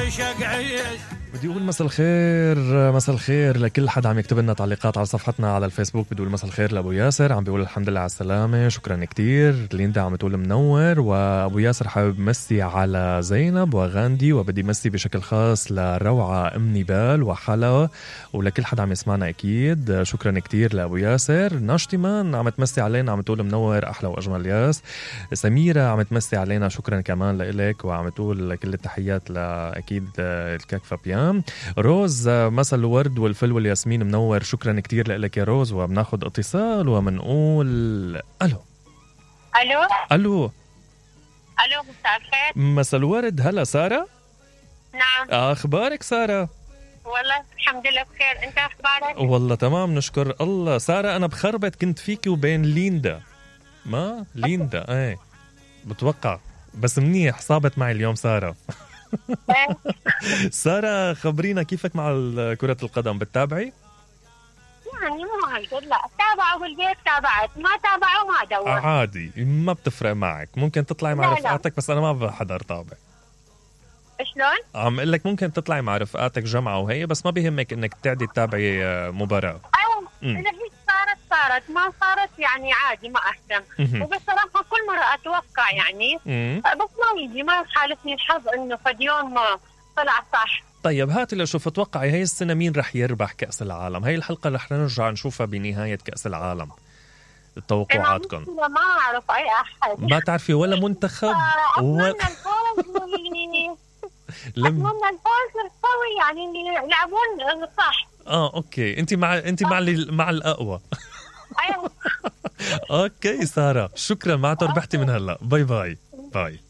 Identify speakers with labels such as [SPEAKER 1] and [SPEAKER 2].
[SPEAKER 1] وعيشك عيش.
[SPEAKER 2] بدي أقول مساء الخير، مساء الخير لكل حد عم يكتب لنا تعليقات على صفحتنا على الفيسبوك. بدي أقول مساء الخير لأبو ياسر، عم بيقول الحمد لله على السلامة، شكرا كتير. ليندا عم تقول منور. وأبو ياسر حابب مسي على زينب وغاندي، وبدي مسي بشكل خاص لروعة أم نبال وحلا ولكل حد عم يسمعنا أكيد. شكرا كتير لأبو ياسر. ناشتمان عم تمسي علينا، عم تقول منور أحلى وأجمل ياس. سميرة عم تمسي علينا، شكرا كمان لإلك، وعم تقول كل التحيات لأكيد الكاكفة بيان. روز مساء الورد والفل والياسمين منور، شكرا كتير لك يا روز. وبناخد اتصال ومنقول الو
[SPEAKER 3] الو
[SPEAKER 2] الو
[SPEAKER 3] الو. مساء الخير.
[SPEAKER 2] مساء الورد. هلا سارة؟
[SPEAKER 3] نعم.
[SPEAKER 2] اخبارك سارة؟
[SPEAKER 3] والله الحمد لله بخير، انت اخبارك؟
[SPEAKER 2] والله تمام نشكر الله. سارة انا بخربت كنت فيكي وبين ليندا. ما ليندا ايه بتوقع، بس منيح صابت معي اليوم سارة. سارة خبرينا كيفك مع كرة القدم، بتتابعي؟
[SPEAKER 3] يعني مو هالقد، لا تابعوا بالبيت تابعت، ما تابعوا ما دور.
[SPEAKER 2] عادي ما بتفرق معك، ممكن تطلعي مع رفقاتك، بس أنا ما بحضر طابع.
[SPEAKER 3] شلون؟
[SPEAKER 2] عم اقول لك ممكن تطلعي مع رفقاتك جمعة وهي، بس ما بيهمك انك تعدي تتابعي مباراة.
[SPEAKER 3] ايوه اذا هي صارت ما صارت يعني عادي ما اهتم. وبصراحة كل مرة اتوقع يعني بس ما يجي، ما يحالفني الحظ انه فد يوم طلع صح.
[SPEAKER 2] طيب هاتي لشوف، اتوقعي هاي السنة مين رح يربح كأس العالم؟ هاي الحلقة رح نرجع نشوفها بنهاية كأس العالم. توقعاتكم؟
[SPEAKER 3] ما اعرف اي احد.
[SPEAKER 2] ما تعرفي ولا منتخب؟
[SPEAKER 3] اتمنى الفوز اتمنى الفوز القوي، يعني اللي يلعبون صح.
[SPEAKER 2] اوكي، انت مع الاقوى.
[SPEAKER 3] ايوه.
[SPEAKER 2] اوكي سارة، شكرا، معناته ربحتي من هلا. باي باي باي.